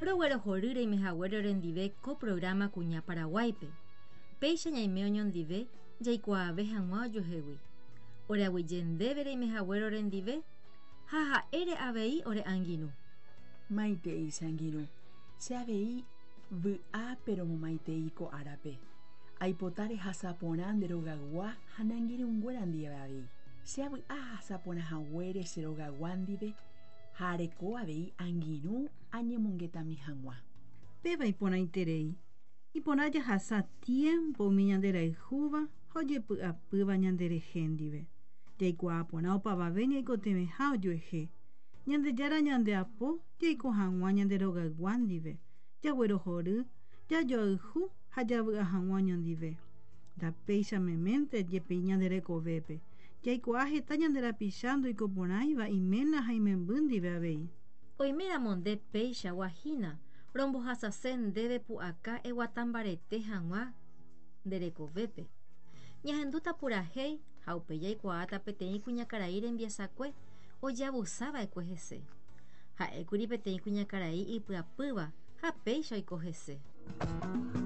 Roguerohory reimehaguére orendive ko programa Kuña Paraguáipe. Péicha ñaime oñondive jaikuaave hag̃ua ojuehegui. Oreaguyje ndéve reimehaguére orendive ha ha'ére avei ore angirũ. Maitei che angirũ, che avei vy'ápe romomaitei ko árape. Aipota rehasa porã nde rogaygua ha ne angirũnguéra ndive avei. Che avy'a ahasa porã haguére che rogaygua ndive ha areko avei angirũ añemongetami hag̃ua. Péva iporãiterei. Iporã jahasa tiémpo umi ñanderayhúva ha ojepy'apýva ñanderehe ndive. Jaikuaa porã opavave ñaikotevẽha ojuehe. Ñandejára ñandeapo jaiko hag̃ua ñande rogaygua ndive, jaguerohory, jajoayhu ha javy'a hag̃ua oñondive. Ndapéicha meménte jepi ñande rekovépe, jaikuaa heta ñande rapicha ndoikoporãiva iména ha imemby ndive avei. Oiméramo nde peichagua hína, rombohasase ndéve pu'aka eguata mbarete hag̃ua nde rekovépe. Ñahendúta purahéi ha upéi jaikuaáta peteĩ kuñakarai rembiasakue ojeavusava'ekue hese. Ha'ékuri peteĩ kuñakarai ipyapýva ha péicha oiko hese.